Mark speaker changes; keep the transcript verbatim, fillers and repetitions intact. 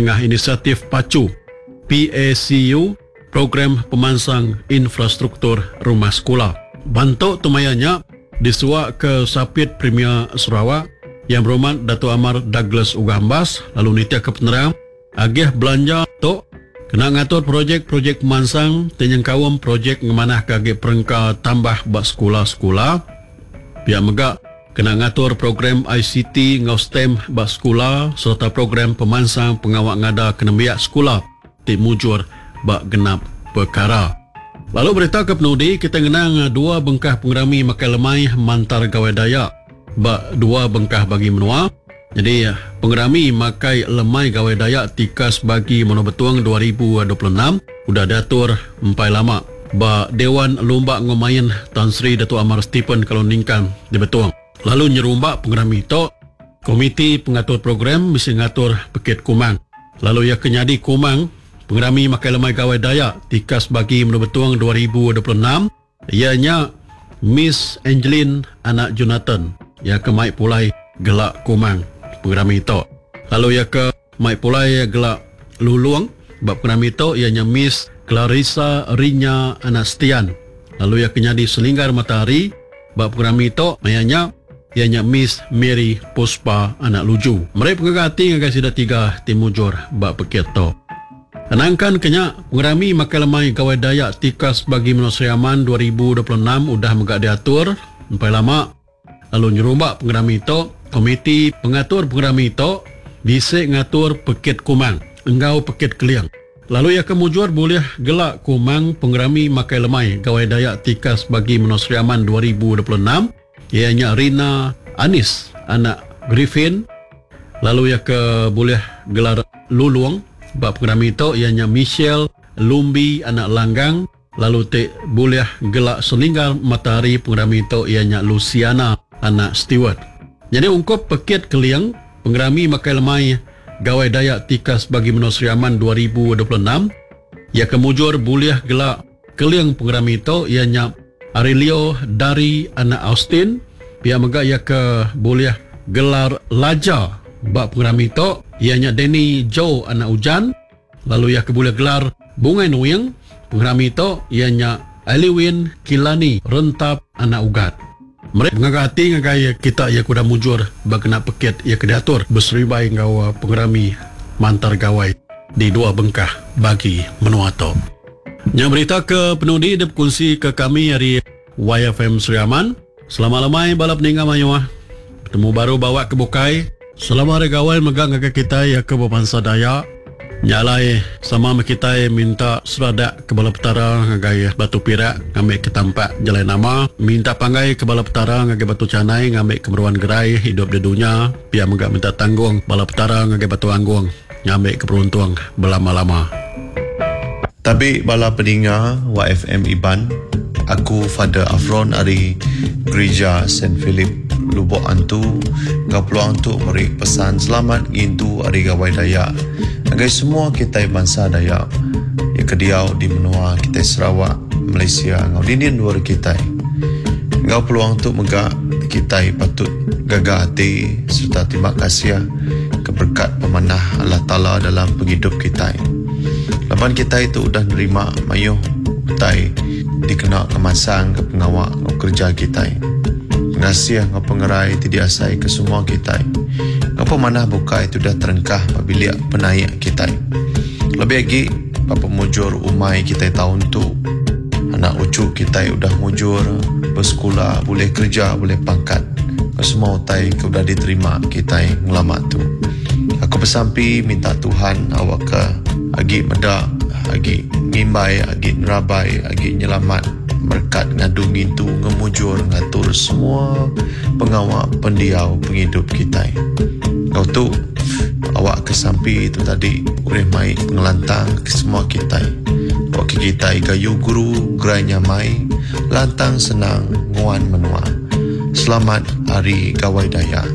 Speaker 1: nengah inisiatif PACU, P A C U, Program Pemansang Infrastruktur Rumah Sekula. Bantu tu maya nya disuak ke Sapit Premier Sarawak Yang Berhormat Datuk Amar Douglas Uggah Embas lalu nitia ke penerang agih belanja tu kena ngatur projek-projek pemansang ti nyengkaum projek ngemanah ke agi perengka tambah ba sekula-sekula. Pihak mega kena ngatur program I C T enggau STEM ba sekula serta program pemansang pengawa ngada ke nembiak sekula ti mujur ba genap perkara. Lalu berita ke penudi kita ngenang dua bengkah pengerami makai lemai Mantar Gawai Dayak ba dua bengkah bagi menua. Jadi pengerami makai lemai Gawai Dayak tikas bagi Menua Betong dua ribu dua puluh enam udah diatur empai lama ba Dewan Lumba Ngomain Tan Sri Datuk Amar Stephen Kalong Ningkan di Betong. Lalu nyerumba pengerami tu, komiti pengatur program mesti ngatur pekit kumang. Lalu ia kenyadi kumang pengerami makai lemai Gawai Dayak tikas bagi Menua Betong dua ribu dua puluh enam ianya Miss Angeline anak Jonathan ia ke mai pulai gelak kumang pengerami tu. Lalu ia ke mai pulai gelak lulung bab pengerami tu ianya Miss Clarissa Rinya anak Setian. Lalu ia ke nyadi selinggar matahari bab pengerami tu ianya ianya Miss Mary Puspa anak Luju. Mereka pengaga hati ngagai sida tiga ti mujur bab pekit tu. Nangkan kenya pengerami makai lemai Gawai Dayak tikas bagi Menua Sri Aman dua ribu dua puluh enam udah mega diatur empai lama. Lalu nyerumba pengerami tu, komiti pengatur pengerami tu bisi ngatur pekit kumang enggau pekit keling. Lalu ia kemujur boleh gelak kumang pengerami makai lemai Gawai Dayak tikas bagi Menua Sri Aman dua ribu dua puluh enam ianya Rina Anis anak Griffin. Lalu ia ke boleh gelar lulung bab pengerami tu ianya Michelle Lumbi anak Langgang. Lalu te boleh gelak selinggar matahari pengerami tu ianya Luciana anak Stewart. Jadi ungkup pekit keling pengerami makai lemai Gawai Dayak tikas bagi Menua Sri Aman dua ribu dua puluh enam ia kemujur boleh gelak keling pengerami tu ianya Aurelio dari anak Austin. Pihak mega ia ke boleh gelar laja bab pengerami tu ianya Danny Joe anak Ujan. Lalu ia ke boleh gelar Bungai Nuing pengerami tu ianya Aliwin Kilani Rentap anak Ugat. Mereka mengaga hati ngagai kita ia kuda mujur berkena pekit ia kediatur berseribai ngau pengerami Mantar Gawai di dua bengkah bagi menua tu. Yang berita ke penudi dia berkongsi ke kami dari Y F M Sri Aman. Selamat lemai balap ninga mayuah. Bertemu baru bawa ke bukai. Selamat hari gawai megang ngagai kita ia ke berbangsa Dayak. Nyalai sama kita minta seradak ke bala petara ngagai Batu Pirak ngambil ke tampak jalan nama, minta panggai ke bala petara ngagai Batu Canai ngambil ke meruan gerai hidup di dunia, pia mega minta tanggung bala petara ngagai Batu Anggung ngambil ke beruntung berlama-lama.
Speaker 2: Tabi bala peninga Y F M Iban, aku Father Afron dari Gereja Saint Philip Lubok Antu, ngau peluang tu meri pesan selamat ngintu hari Gawai Dayak. Agai semua kita bangsa Dayak yang kediau di menua kita Sarawak, Malaysia, ngau dinding luar kita. Ngau peluang tu megak kita patut gagah hati serta terima kasih ke berkat pemanah Allah Ta'ala dalam penghidup kita. Laban kita itu udah nerima mayuh utai dikena kemasang ke pengawak ngau kerja kita. Pengasih ngau pengerai ti diasai ke semua kita. Ngau pemanah buka itu dah terengkah pabiliak penaik kita. Lebih lagi bapa mujur umai kita tahun tu. Anak ucu kita udah mujur bersekolah, boleh kerja, boleh pangkat. Ke semua utai ke udah diterima kita ngelama tu. Aku bersampi minta Tuhan awak ke agi medak, agi ngimbai, agi nerabai, agi nyelamat berkat ngadu ngintu ngemujur ngatur semua pengawak pendiau penghidup kita. Kau tu awak kesampi itu tadi ureh mai pengelantang ke semua kita. Awak ke kita gayu guru gerai nyamai lantang senang nguan menua. Selamat Hari Gawai Dayak.